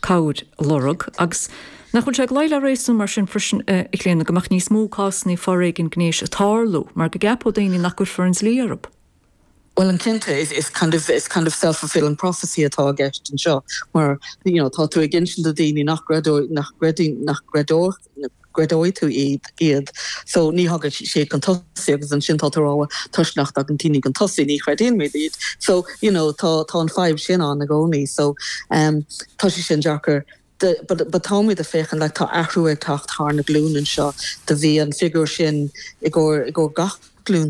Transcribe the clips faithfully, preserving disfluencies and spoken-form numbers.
cabhair a lorg agus nach bhfuil sé ag luí le réasún mar sin freisin a Chlíona go mbeadh níos mó cásanna foréigin gnéis ag tarlú mar go gceapfadh daoine nach gcuirfear an dlí orthu. Well an cinnte is, is kind of is kind of self-fulfilling prophecy atá i gceist anseo mar you know, tá tú ag insint do daoine nach gcreideoidh nach gcreideoidh nach gcreideoidh gcreideoidh tú iad iad so ní thagann sé chun tosaigh agus ansin tá tú ag rá toisc nach dtagann daoine chun tosaigh ní chreideann muid iad so you know tá tá an fadhb sin ann i gcónaí so um, tá sé sin deacair but but táimid ag féachaint le tá athrú ag teacht thar na glúin anseo do bhí an figiúr sin i gcomhair i gcomhair gach glún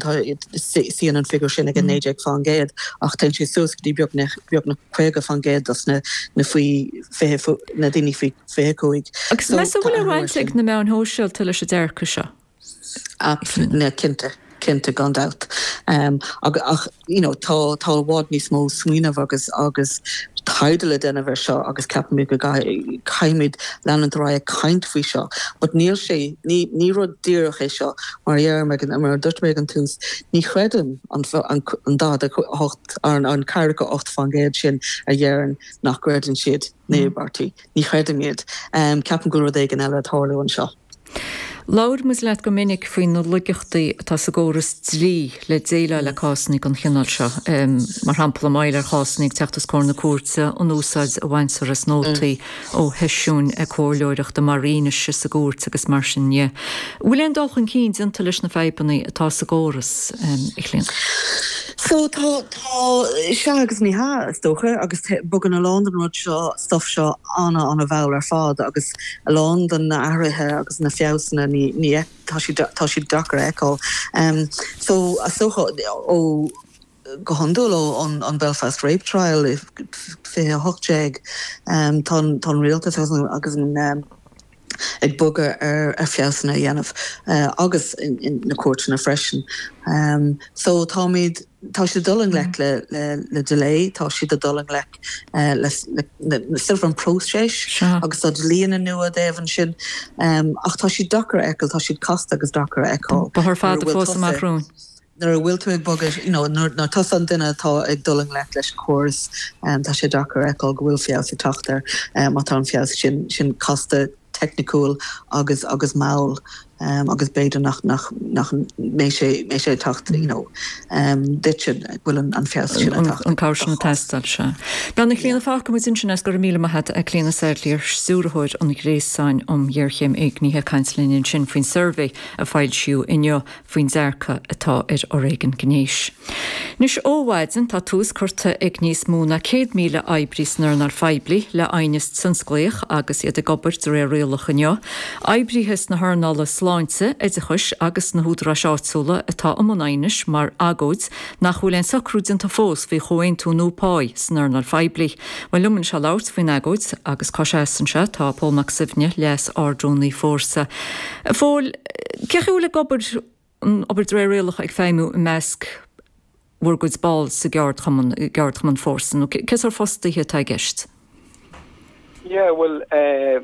suíonn an figiúr sin ag an naoi déag faoin gcéad ach tá sé suas go dtí beagnach beagnach caoga faoin gcéad dos na na faoi fiche na daoine faoi fiche cúig. Agus meas tú bhfuil roinnt ag na meáin shóisialta leis an dearcadh seo? Na cinnte cinnte gan dabht. Um, ach, ach you know, tá tá i bhfad níos mó smaoineamh agus agus taighde le déanamh air seo agus ceapaimid go gcaithfimid leanúint ar aghaidh caint faoi seo. But níl sé ní ní rud díreach é seo mar dhear mar dúirt mé ag an tús ní chreidim an an an daichead a hocht an an ceathracha ocht faoin gcéad sin a deireann nach gcreideann siad na híobairtí. Ní chreidim iad. Um, ceapaim go bhfuil rud éigin eile ag tarlú anseo. Labhair muid leat go minic faoi na laigeachtaí atá sa gcóras dlí le déileáil le cásanna den chineál seo. Um, mar shampla maidir le cásanna ag teacht os comhair na cúirte an úsáid a bhaintear as nótaí ó sheisiúin comhairleoireachta mar fhianaise sa gcúirt agus mar sin de. Bhfuil aon dul chun cinn déanta leis na fadhbanna atá sa gcóras um, a Chlíona. So tá tá sé agus ní hea is dócha agus bogann a lán den rud seo stuff seo an- an-mhall ar fad agus a lán den na hathruithe agus na feabhsanna ní ní tá sí tá siad deacair a fheiceáil. Um, so a socha ó go hiondúil ó an, an Belfast Rape Trial fiche hocht déag um, tá tá rialtas agus an um, ag bogadh ar ar feabhsanna a dhéanamh uh, agus in, in na cúirteanna freisin. Um, so táimid tá siad dul i ngleic le, le, le delay, tá siad dul i ngleic uh, le, le, le, le silver an próiseas agus tá dlíthe nua déanamh sin um, ach tá siad deacair a fheiceáil, tá siad casta agus deacair a fheiceáil. Bóthar fada fós amach romhainn. Nuair a bhfuil tú ag bogadh you know, nuair tusa an duine atá ag dul i ngleic leis an córas um, tá sé deacair a fheiceáil go bhfuil feabhas ag teacht air um, tá an feabhas sin sin casta teicniúil agus agus mall um, agus b'fhéidir nach nach nach mbeidh sé mbeidh sé teacht you know, um, duit bhfuil an, an feabhas sin an cabhair sin ag teastáil se. Ben na Clíona fágfaimid ansin é go raibh míle maith agat a Clíona Saidléar stiúrthóir an Ghréasáin um Ghéarchéim Éignithe ag caint linn ansin faoin suirbhé a foilsíodh inniu faoin dearcadh atá ar fhoréigean gnéis. Anois ó mhaidin tá tús curtha ag níos mó ná céad míle oibrí san earnáil phoiblí le haighneas tionsclaíoch agus iad ag obair de réir rialach inniu. Oibrithe sna hearnála sláinte, oideachais agus na húdaráis áitiúla atá i mbun aighnis mar agóid nach bhfuil aon socrú déanta fós faoi chomhaontú nua pá san earnáil phoiblí. Well liom anseo labhairt faoin agóid agus cá seasann sé tá Pól Mac Suibhne leas-ardrúnaí Fórsa. Phóil cé bhfuil ag obair an obair de réir rialach ag feidhmiú i measc bhur gcuid ball sa gceardchumann gceardchumann Fórsa nó cé sórt fostaithe atá i gceist? Yeah, well uh,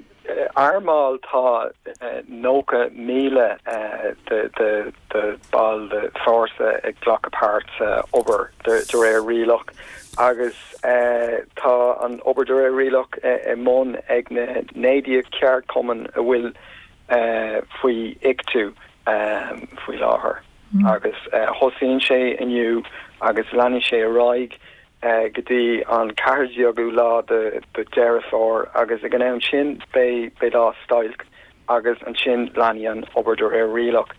ár mbaill tá uh, nócha míle uh, de de de ball de Fórsa ag glacadh páirt uh, obair de, de réir rialach agus uh, tá an obair de réir rialach uh, i mbun ag na naoi déag ceardchumann a bhfuil uh, faoi I C T U um, faoi láthair mm. agus uh, thosaíonn sé inniu agus leanfaidh sé ar aghaidh uh, go dtí an ceathair lá de de Deireadh Fómhair agus ag an am sin beidh beidh lá stailc agus ansin leanfaidh an obair de réir rialach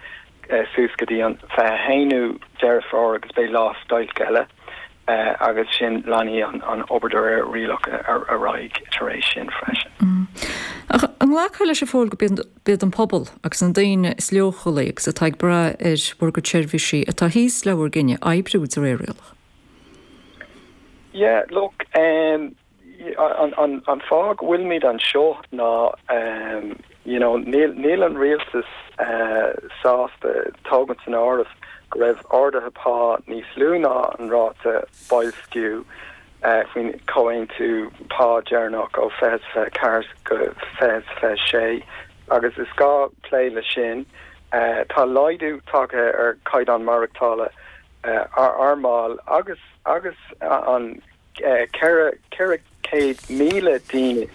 uh, suas go dtí an fiche haonú Deireadh Fómhair agus beidh lá stailc eile uh, agus sin leanfaidh an, an obair de réir rialach ar ar aghaidh tar éis sin freisin. Mm. Ach an nglacfá leis a Phóil go mb'iad an pobal agus an daoine is leochailí agus atá ag brath ar bhur gcuid seirbhísí atá thíos le bhur gcinneadh oibriú de réir rialach. Yeah, look, um, an, an, an fáth go bhfuilimid anseo ná um, you know, níl, níl an rialtas uh, sásta tógaint san áireamh go raibh arduithe pá níos lú ná an ráta boilsciú uh, faoin comhaontú pá deireanach ó fiche ceathair go fiche sé agus is gá plé le sin uh, tá laghdú tagtha ar chaighdeán maireachtála uh, ar ár mbaill agus agus uh, an uh, ceithre céad míle daoine